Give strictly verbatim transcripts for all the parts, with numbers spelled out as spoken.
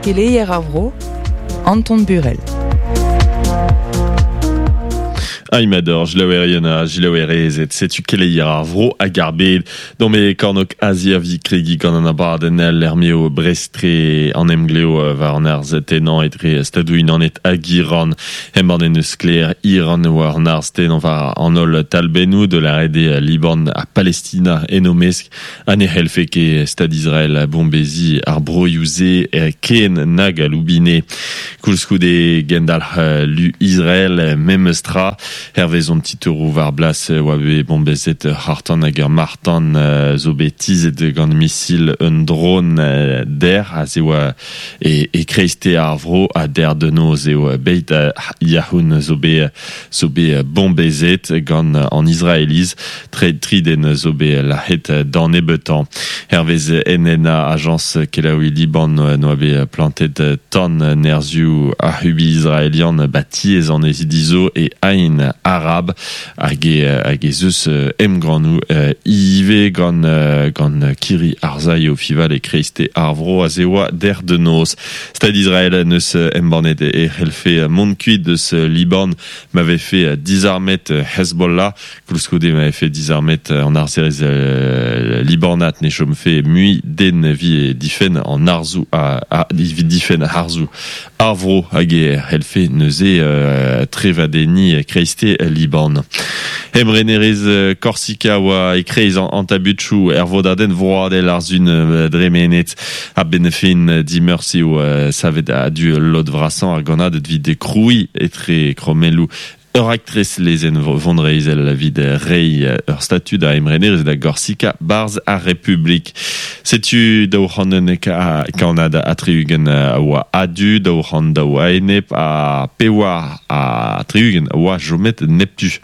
Keleier ar vro, Anton Burel. Aimador, jilaouerien a jilaouerezet, setu keleier ar vro hag ar bed. Dans me kornok Azia vi kregi gant an abadenn l'ermeo Brestre an emgleo war an arz tenan etre stadou unanet hag Iran. Hemban en eus kler Iran war an arz tenan war an ol talbennou de la rede Liban a Palestina enomesk an e helfe ke stad Israel a bombezi ar broiouze ken nag a loubine. Koulskoude gendal lu Israel memestra. Hervez on titouroù war blas oa bet bombezet hartan hag ur martan zo bet tizet gant misil un drone der a ze oa e, e kreizte ar vro a der de noz eo beit yahoun zo bet zo bet bombezet gant an Israeliz tre triden zo bet lahet d'an ebetan. Hervez N N A agence kelaoui Liban noa bet plantet tan nerzioù a hubi israelian batiez an ezidizo e ain arab hag e, hag e zeus emgranou ive gant, gant kiri arzaï o fival e kreizte ar vro a zeoa der de noz. Stad Israel neus embannet e helfe mont kuit deus Liban m'avait fait disarmet Hezbollah koulskoude m'avait fait disarmet an arzerez Libanat ne chom fait mui den vi e difen an arzou a, a vi difen arzou ar vro hag e helfe neuze trevadeni kreizte Liban. Emrenerez Korsika oa e kreiz an, an tabutchou er vodaden vroadel ar zun dremenet a benefin dimeurs eo savet a du lod vrasan ar ganad vid kroui etre kromelou ur aktres lezen vondreizel la vid rei ur statut da emrenerez da Gorsika barz ar Republik. Setu daou c'hannen ka kanad a triugen a oa adu, daou c'han daou a enep a pewa a triugen a oa jomet neptu.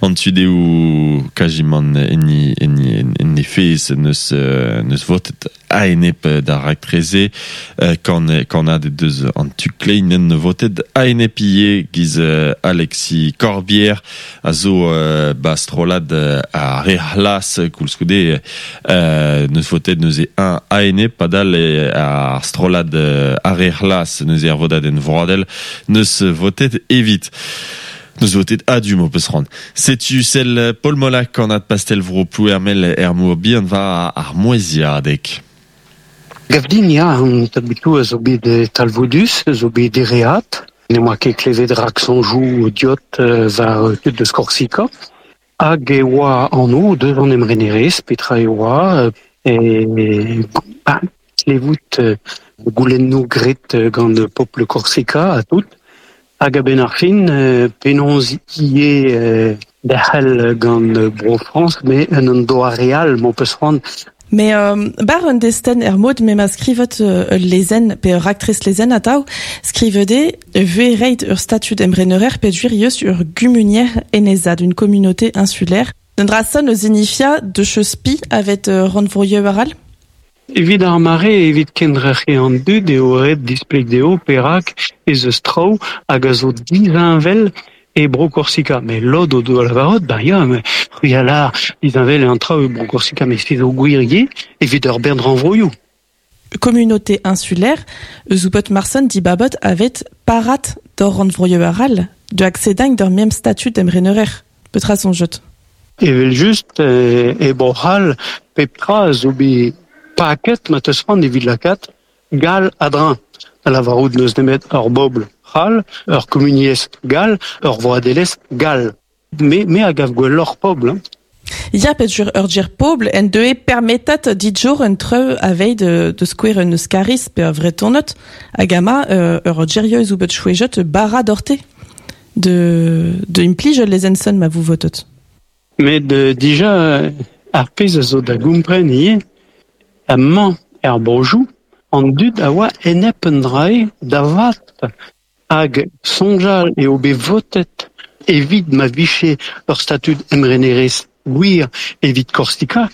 An tudeo kajimant enni, enni, enni fez neus, neus votet a-enep d'ar raktreze kan, kannad deus an tukleinen votet a-enep ie giz Alexis Corbière a zo bastrolad a rehlas koulskoude neus votet neuze un a-enep padal ar strolad a rehlas neuze ar vodaden vroadel neus votet evit. Neus votet adu mo peus ran. Setu sel Paul Molac an ad pastel vro plouermel er mour bihan va ar moeziadek. Gavdin ya, an tabutou a zo bet talvoudus, a zo bet dereat. Ne moa ket klevet rak sonjou diot var tud deus Korsika. Hag e oa an o deus an emrenerez, petra e oa, e, ba, klevout goulennou gret gant popl Korsika a tout. Hag a ben ar fin, penaos ie derc'hel gant Bro France, me un an doa real, m'o peus c'hoant. Mais euh, bar un desten er mod me ma skrivet euh, lezen, pe ur aktres lezen atav, skrivede ve reit ur statut emrenerer pe juirius ur gumunier enezad, une communauté insulaire. D'un eus inifia de cheuspi avet euh, randvroieu aral? Evit ar mare, evit kendrec'he an dud eo ret displeg deo perak ez eus traoù hag a zo dizinvel e bro Korsika. Mais lod o do lavarot, ba ya, me c'hwi a lar dizinvel e an traoù e bro Korsika, mais se zo gwirier evit ur bern ranvroioù. Communauté insulaire, eus oupot marson di babot avet parat d'or randvroioù aral, de accéding d'ur même statut d'emrenerer. Petra son jot. Evel just, e, e bro-c'hall, pep tra zo bet paket ma teus c'hoant evit lakaat gal adrin. A lavarout neus nemet ur bobl c'hall, ur communiez gal, ur vroadelez gal. Me, me a gav gwelloc'h pobl. Hein. Ya pet jur ur djir pobl en deue permetat ditjour un treu aveit de, de skouer un euskaris pe ur vretonot hag ama euh, ur djerieus ou bet chouejot bara dorte de, de implij les enson ma vous votot. Met euh, dija ar pezh a zo da goumpren ie amañ er brojou an dud a oa enep un drae da vat hag sonjal eo bet votet evit ma viche ur statud emrenerez gwir evit Korsika,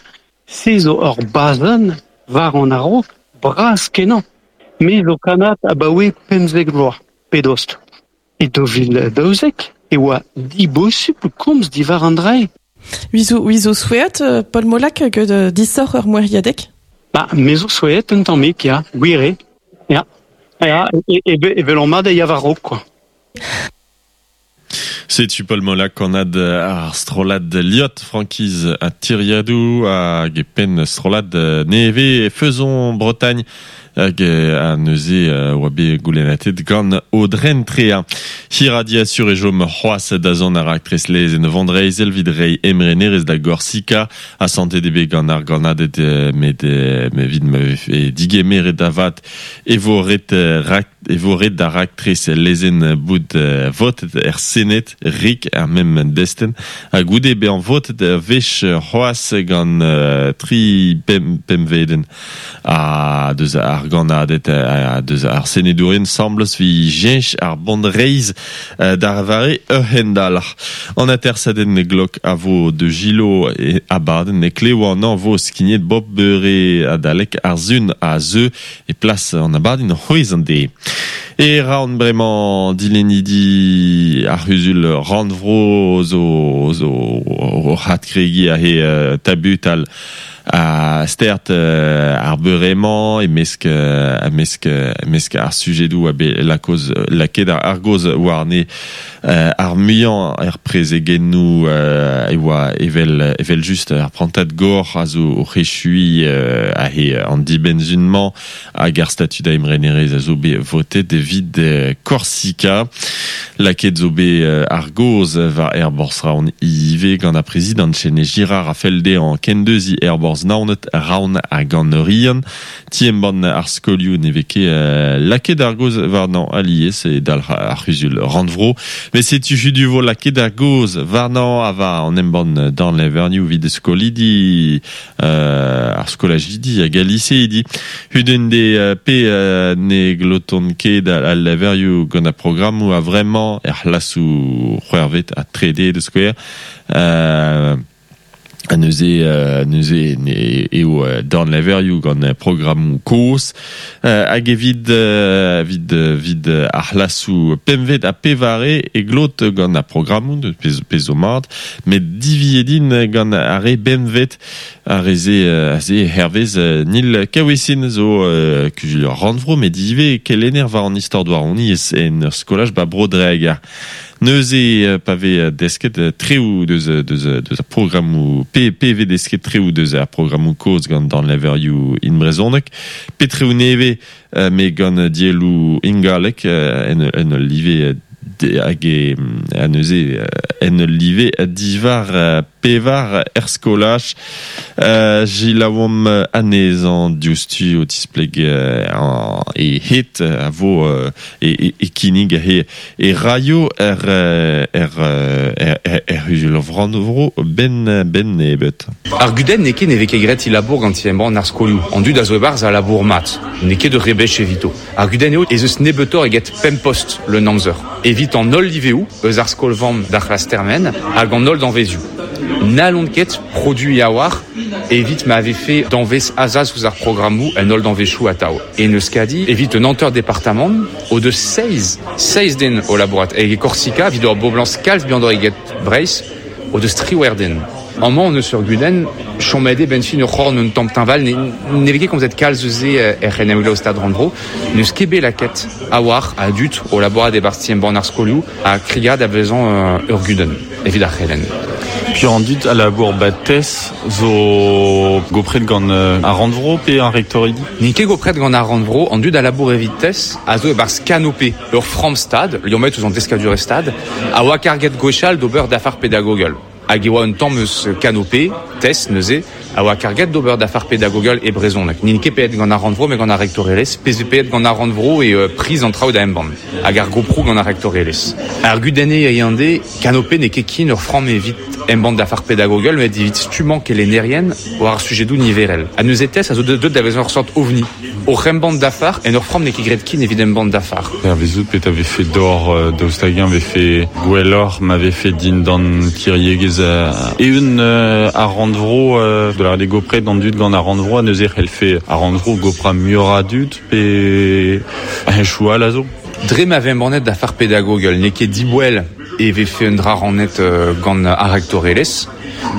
se zo ur bazen war an aro bras kenañ. Me zo kanat abaoe pemzek vloaz, pedost. E do vil daouzek e oa dibosupl komz diwar an drae. Wizo, wizo souet, Paul Molac, que de disor ur moeriadek? Ba, me zo souet un tammig, ya, gwir eo. Ya. Ya, e, e, e velon mat e ya war-raok, quoi. Setu Paul Molac kannad ar strollad Liot Frankiz ha Tiriadoù hag e penn strollad nevez Faisons Bretagne hag a neuze oa bet goulennatet gant Audren Tréa. Hir a diasur e jom c'hoazh da zont ar raktres lezenn Vandreizel evit reiñ emrenerezh da Gorsika a santet eo bet gant ar gannaded met evit ma vefe digemeret da vat e vo ret rak e vo ret da raktres lezenn bout votet er Sened rik ar mem destenn ha goude bezañ votet wech c'hoazh gant tri pemp pempvedenn a deus ar gannaded a deus ar senedourien 'sambles 'vit cheñch ar bonreizh d'ar vare ur hendalc'h. An atersadenn glok a vo de Gilo e abadenn e klevo an anv vo skignet bop beure adalek ar sun a zeu e plas an abadenn c'hwezh an deiz. E ra an bremañ dilennidi ar c'huzul rannvro zo zo o adkregiñ he tabutal a stert ar beure-mañ e-mesk e-mesk e-mesk ar sujedoù a bet lakoz lakaet ar gaoz warne ar muiañ er prezegennoù e oa evel evel just ar prantad gor a zo o c'hechuiñ a he an dibenn-sun-mañ hag ar statud a emrenerezh a zo bet votet evit Korsika. Lakaet zo bet ar gaoz war aerborzh Roazhon ivez gant ar prezidant Chene Girard a fell dezhañ kendeuziñ aerborzh Naoned, Roazhon hag an Oriant. Ti embann ar skolioù ne vez ket lakaet ar gaoz warnañ alies e dalc'h ar c'huzul rannvro. Met setu hudu vo lakaet ar gaoz warnañ a war an embann dornlevr evit skolidi ar skolajidi hag al liseidi. Hudenn de pe ne glotont ket al levrioù gant ar programmoù a vremañ er c'hlasoù c'hwec'hvet ha trede de skouer. Euh, a neuze neuze ne eo dornlevrioù gant programmoù kozh hag evit evit evit ar c'hlasoù pempvet ha pevare e glot gant ar programmoù de pezh zo mat met diviet int gant ar re bempvet ar re-se aze hervez Nil Caouissin zo kuzul rannvro met ivez kelenner war an istor douaroniezh en ur skolaj ba Bro-Dreger. Neuze pa vez desket treoù deus deus deus ar programmoù pe pe vez desket treoù deus ar programmoù kozh gant dornlevrioù in brezhoneg pe treoù nevez met gant dielloù ingalek en en ul live hag e a neuze en ul live divar pevar er skolaj selaouomp anezhañ diouzhtu o tispleg e het a vo e e kinnig he e raio er er er er c'huzul rannvro ben ben nebeut. Ar gudenn n'eo ket ne vez ket graet e labour gant ti embann ar skolioù. An dud a zo e-barzh a labour mat. N'eo ket ur rebech evito. Ar gudenn eo ez eus nebeutoc'h eget pemp post leun amzer. Evit an holl liveoù eus ar skol-vamm d'ar c'hlas termen hag an holl danvezioù. N'hallont ket produiñ a-walc'h evit ma vefe danvez azas ouzh ar programmoù en holl danvezioù atav. E en Euskadi, evit un hanter departamant, o deus seizh, seizh den o labourat. Hag e Korsika, evit ur boblañs kalz bihanoc'h eget Breizh, o deus triwec'h den. Amañ on eus ur gudenn, chomet eo benn fin ur c'horn un tamm teñval, ne, ne vez ket komzet kalz eus se er c'henemglev Stad Rannvro, n'eus ket bet lakaet a-walc'h a dud o labourat e-barzh ti embann ar skolioù ha krigad a vezañ ur gudenn evit ar c'helenn. Puis an dud a labour ba TES zo gopret gant ar rannvro pe ar rektoridi? N'int ket gopret gant ar rannvro, an dud a labour evit TES a zo e-barzh Canopé, ur framm stad, liammet ouzh an deskadurezh stad, a oa karget gwechall d'ober dafar pedagogel. Hag e oa un tamm eus Canopé, TES neuze, a oa karget d'ober dafar pedagogel e brezhoneg. N'int ket paeet gant ar rannvro met gant ar rektorelezh, pezh zo paeet gant ar rannvro e euh, priz an traoù da embann. Hag ar goproù gant ar rektorelezh. Ar gudenn eo eo Canopé n'eo ket ken ur framm evit embann dafar pedagogel met evit stummañ kelennerien war ar sujedoù niverel. Ha neuze TES a zo deuet da vezañ ur sort ovni. Oc'h embann dafar, en ur framm n'eo ket graet ken evit embann dafar. Hervezout pet a vefe d'or daoust hag-eñ vefe gwelloc'h ma vefe dindan kiriegezh eeun ar rannvro de la gopret an dud gant ar rannvro a neuze c'hellfe ar rannvro goprañ muioc'h a dud pe henchoù all a zo. Dre ma vez embannet dafar pedagogel, n'eo ket diboell e vefe un dra rannet gant ar rektorelezh,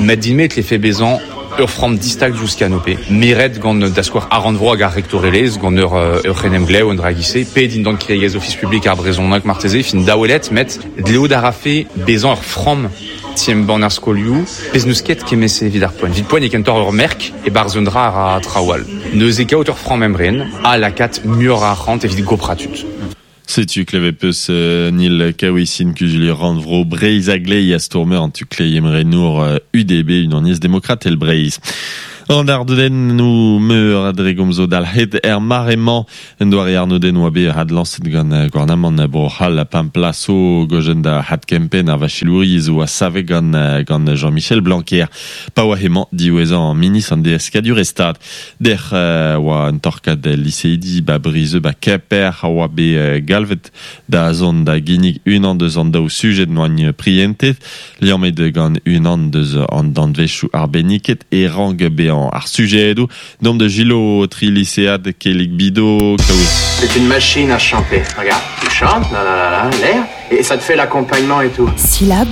met din-me e tlefe bezañ Ur framm distag diouzh Canopé. Meret gant da skouer ar rannvro hag ar rektorelezh gant ur, ur c'henemglev un dra gise, pe dindan kiriegezh ofis publik ar brezhoneg marteze, fin daouelet, met dleout a rafe bezañ ur framm ti-embann ar skolioù, pezh n'eus ket kemese evit ar poent. Evit poent e kentoc'h ur merk e barzh un dra ar traoù all. Neuze kaout ur framm emren a lakaat muioc'h a arc'hant evit gopratut. Setu klevet peus euh, Nil Kaouisin kuzulier rannvro Breizh a glei a stourmer an tu klei emrenour euh, U D B unaniezh demokratel Breizh. An ardodennoù meur a dre gomzo dalc'het er mare-mañ en doare arnodenn oa bet had lañset gant gouarnamant Bro-C'hall a pemp plaso gojen da had kempen ar vachelouriezh oa save gant, gant Jean-Michel Blanquer. Pa oa hemañ diwezhañ an ministr an deskadur e stad. Dec'h euh, oa un torkad liseidi ba Brizeux ba Kemper a oa bet galvet da zont da ginnig unan deus an daou sujet noagn prientet, liammet gant unan deus an danvezioù arbenniket e rang bezañ ar sujedoù dom de Gilo tri lycéad Kelik Bido Kaoui. C'est une machine à chanter. Regarde, tu chantes, la la la la, l'air, et ça te fait l'accompagnement et tout. Syllabe.